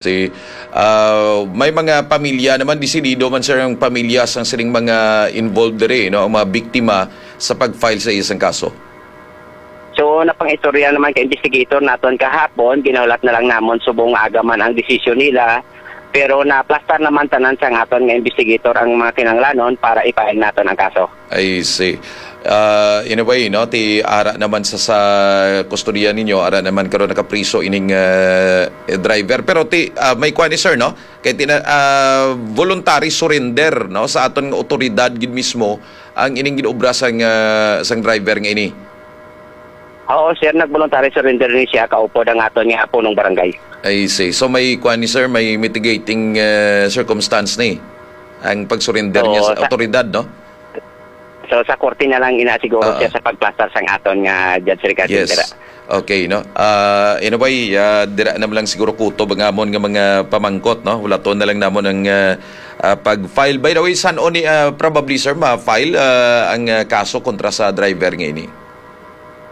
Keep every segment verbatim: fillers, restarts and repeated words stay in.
Si, ah, may mga pamilya naman, desidido man, sir, ang pamilya sang sining mga involved diri, no, ang mga biktima sa pag-file sa isang kaso. So, napang-istorya naman ka investigator naton kahapon, ginahulat na lang namon subong aga man ang desisyon nila, pero naplastar naman tanan sang aton nga investigator ang mga kinahanglanon para i-file naton ang kaso. I see. Ah, in a way, no, ti ara naman sa, sa kustodiya ninyo, ara naman karon nakapriso ining, ah, driver. Pero ti, ah, may kuwan ni sir, no? Kay tina-, ah, voluntary surrender, no, sa aton nga otoridad gid mismo ang ining ginobra sang, ah, sang driver nga ini. Oo, sir, nag-voluntary surrender ni siya, kaupod ang aton nga punong barangay. I see. So may kuwan ni sir, may mitigating, ah, circumstance ni ang pag-surrender niya Oo, sa sa otoridad, no? So, sa korte na lang ina siguro Oo. siya sa pagplastar sang aton nga Judge Ricardo Yes. Rivera. Okay, no? Ah, in a way, ah, dira na lang siguro kutob ang amon nga mga pamangkot, no? Hulaton na lang namon ang, ah, ah, pag-file. By the way, san-o ni, ah, probably, sir, ma-file, ah, ang, ah, kaso kontra sa driver nga ini?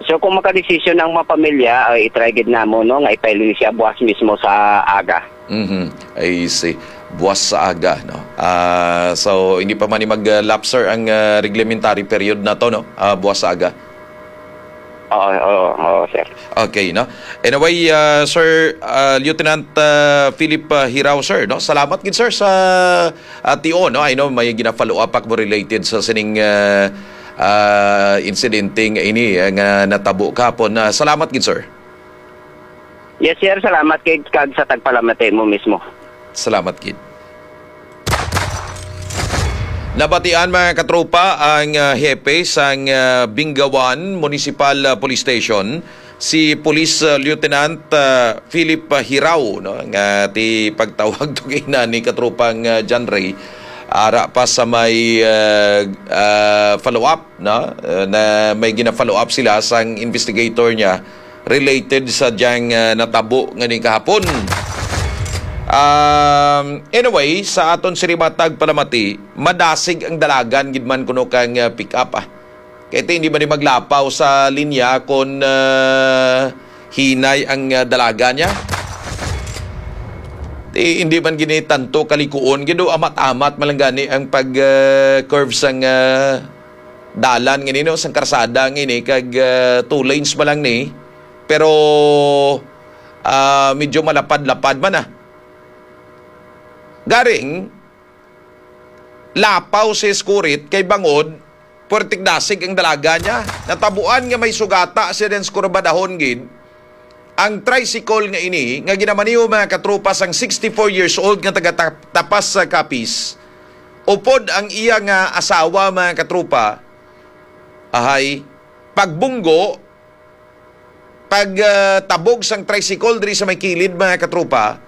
So, kung makadesisyon ang mga pamilya, ay i-try gid namon, no, nga i-file ni siya buwas mismo sa aga. Mhm. I see. Buwas sa aga, no? Ah, so, hindi pa man ni mag-lapse, sir, ang, ah, reglementary period na to, no? Ah, buwas sa aga. Oo, oo, oo, sir. Okay, no? Anyway, ah, Sir, ah, Lieutenant, ah, Philip, ah, Hirao, sir, no? Salamat gid, sir, sa, ah, tio, no? I know may gina-follow up ako related sa sining, ah, ah, insidente nga ini, ah, nga natabo kahapon. Ah, salamat gid, sir. Yes, sir. Salamat kay kag sa tagpalamati mo mismo. Salamat gid. Nabatian, mga katropa, ang, ah, hepe sang, ah, Bingawan Municipal, ah, Police Station, si Police, ah, Lieutenant, ah, Philip, ah, Hirao, no, nga ti pagtawag to kay nani katropang, ah, John Ray, ara pa sa may, ah, ah, follow-up, no, ah, na may gina-follow-up sila sang investigator niya related sa diyang, ah, natabo nga ni kahapon. Um, anyway, sa aton sini matag palamati, madasig ang dalagan gid man kuno kang, ah, pick up, ah. Kay ti hindi man ni maglapaw sa linya kon, ah, hinay ang, ah, dalaga niya. Ti hindi man gini tanto kalikuon gid, o amat-amat man lang gani ang pag, ah, curve sang, ah, dalan nga nino, sang karsada nga ini, kag, ah, two lanes man lang ni. Pero, ah, medyo malapad-lapad man, ah. Garing, lapaw si Skurit kay bangod, puwerteng dasig ang dalaga niya. Natabuan nga may sugata siya din sa kurbadahon gid. Ang tricycle nga ini, nga ginamaneho, mga katropa, sang sixty-four years old nga taga Ta-, Tapas sa Capiz, upod ang iya nga asawa, mga katropa, ahay, pagbunggo, pag, ah, tabog sang tricycle diri sa may kilid, mga katropa,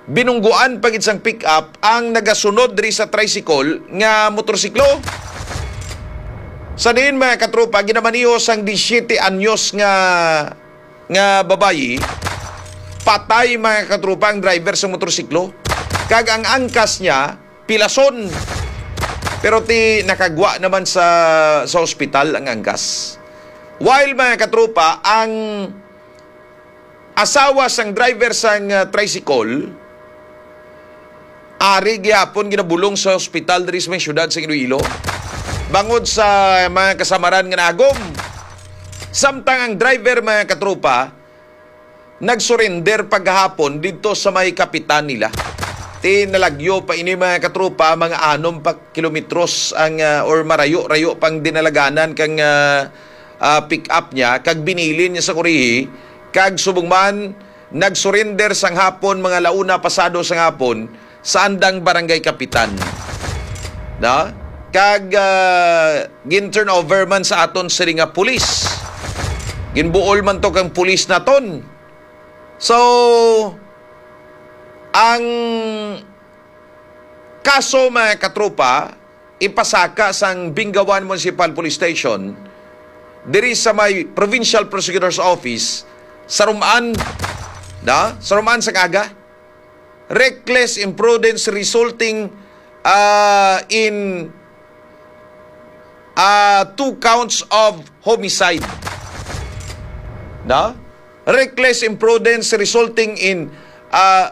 binungguan pa gid sang pick-up ang nagasunod diri sa tricycle nga motorsiklo. Sa diin, mga katropa, ginamaneho sang disiyete anyos nga, nga babayi, patay, mga katropa, ang driver sa motorsiklo. Kag ang angkas niya, pilason. Pero ti nakagwa naman sa, sa ospital ang angkas. While, mga katropa, ang asawa sang driver sang, ah, tricycle, ari gihapon ginabulong sa ospital diri sa may siyudad sa Iloilo bangod sa mga kasamaran nga nagom. Samtang ang driver, mga katropa, nagsurrender paghapon didto sa may kapitan nila. Ti nalagyo pa ini, mga katropa, mga anom pa kilometros ang, ah, or marayo-rayo pang dinalaganan kang, ah, ah, pick-up niya, kag binilin niya sa kurihi, kag subong man, nagsurrender sang hapon, mga launa pasado sang hapon, sa andang barangay kapitan. Na? Kag, ah, gin-turnover man sa aton sini nga pulis. Ginbuol man to kang pulis naton. So, ang kaso, mga katropa, ipasaka sang Bingawan Municipal Police Station diri sa may Provincial Prosecutor's Office sa Rumaan, da? Sa Rumaan sa Kaga. Reckless imprudence resulting, ah, in, ah, two counts of homicide. Da? Reckless imprudence resulting in, ah,